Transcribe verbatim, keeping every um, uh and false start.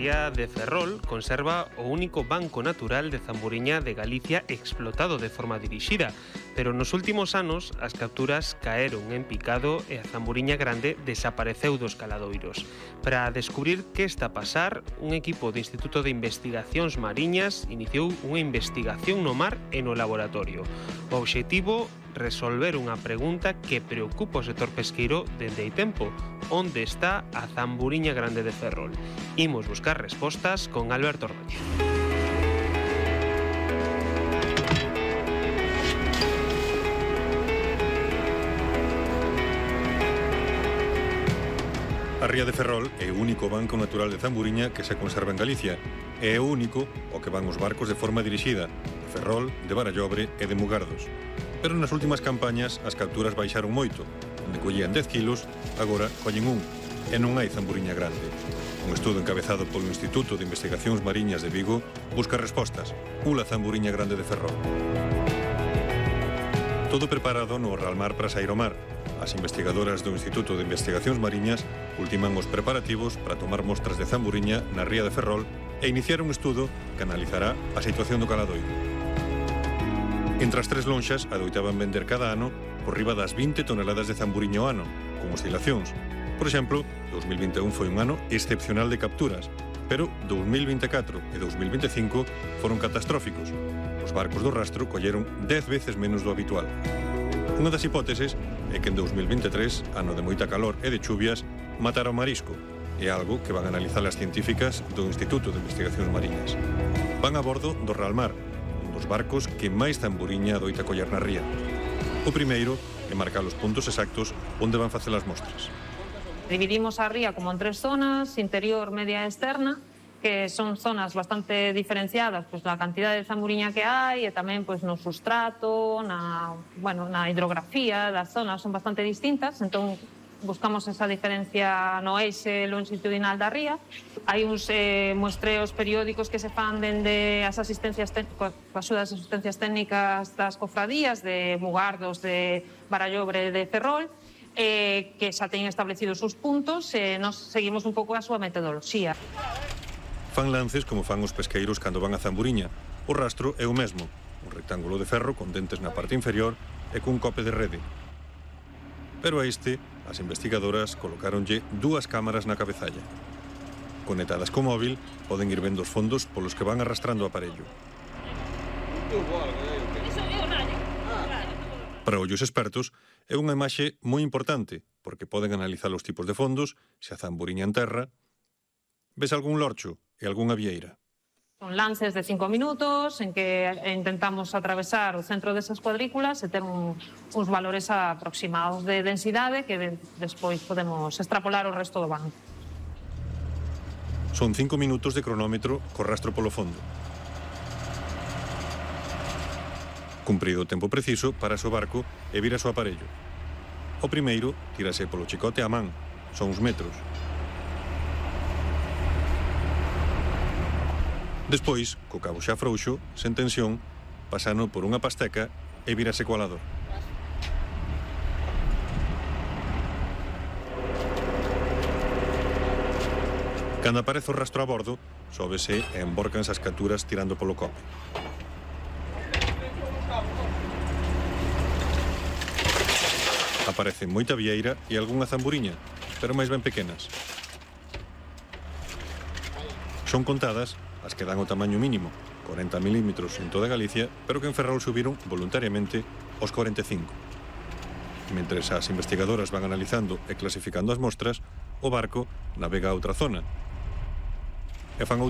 ría de Ferrol conserva o único banco natural de zamburiña de Galicia explotado de forma dirixida, pero nos últimos anos as capturas caeron en picado e a zamburiña grande desapareceu dos caladoiros. Para descubrir que está a pasar, un equipo do Instituto de Investigacións Mariñas iniciou unha investigación no mar e no laboratorio. O obxectivo, resolver unha pregunta que preocupa o sector pesqueiro dende hai tempo: onde está a zamburiña grande de Ferrol? Imos buscar respostas con Alberto Ordóñez. A ría de Ferrol é o único banco natural de zamburiña que se conserva en Galicia. É o único ao que van os barcos de forma dirixida, de Ferrol, de Barallobre e de Mugardos. Pero nas últimas campañas as capturas baixaron moito. Onde collían dez kilos, agora collen un, e non hai zamburiña grande. Un estudo encabezado polo Instituto de Investigacións Mariñas de Vigo busca respostas. Ula zamburiña grande de Ferrol. Todo preparado no Ralmar para sair ao mar. As investigadoras do Instituto de Investigacións Mariñas ultiman os preparativos para tomar mostras de zamburiña na ría de Ferrol e iniciar un estudo que analizará a situación do caladoiro. Entre as tres lonxas adoitaban vender cada ano por riba das vinte toneladas de zamburiña ao ano, con oscilacións. Por exemplo, dous mil vinte e un foi un ano excepcional de capturas, pero dous mil vinte e catro e dous mil vinte e cinco foron catastróficos. Os barcos do rastro colleron dez veces menos do habitual. Unha das hipóteses é que en dous mil vinte e tres, ano de moita calor e de chuvias, matara o marisco. É algo que van a analizar as científicas do Instituto de Investigacións Mariñas. Van a bordo do Ralmar, un dos barcos que máis zamburiña adoita coller na ría. O primeiro é marcar os puntos exactos onde van facer as mostras. Dividimos a ría como en tres zonas, interior, media e externa, que son zonas bastante diferenciadas pois, na cantidad de zamburiña que hai e tamén pois, no sustrato, na, bueno, na hidrografía das zonas son bastante distintas, entón buscamos esa diferencia no eixe longitudinal da ría. Hai uns eh, muestreos periódicos que se fan dende as asistencias técnicas, as axudas de asistencias técnicas das cofradías de Mugardos, de Barallobre, de Ferrol, eh, que xa teñen establecidos os puntos e nos seguimos un pouco a súa metodoloxía. Fan lances como fan os pesqueiros cando van a zamburiña. O rastro é o mesmo, un rectángulo de ferro con dentes na parte inferior e cun cope de rede. Pero a este, as investigadoras colocáronlle dúas cámaras na cabezalla. Conectadas co móvil, poden ir vendo os fondos polos que van arrastrando o aparello. Para ollos expertos, é unha imaxe moi importante, porque poden analizar os tipos de fondos, se a zamburiña en terra. Ves algún lorcho e algunha vieira. Son lances de cinco minutos en que intentamos atravesar o centro desas cuadrículas e ter un, uns valores aproximados de densidade que de, despois podemos extrapolar o resto do banco. Son cinco minutos de cronómetro co rastro polo fondo. Cumprido o tempo preciso, parase o barco e vira o aparello. O primeiro tírase polo chicote á man, son uns metros. Despois, co cabo xa frouxo, sen tensión, pasano por unha pasteca e vírase co alador. Cando aparece o rastro a bordo, sóbese e embórcanse as capturas tirando polo cope. Aparece moita vieira e algunha zamburiña, pero máis ben pequenas. Son contadas as que dan o tamaño mínimo, corenta milímetros en toda Galicia, pero que en Ferrol subiron voluntariamente aos corenta e cinco. Mentres as investigadoras van analizando e clasificando as mostras, o barco navega a outra zona e fan outro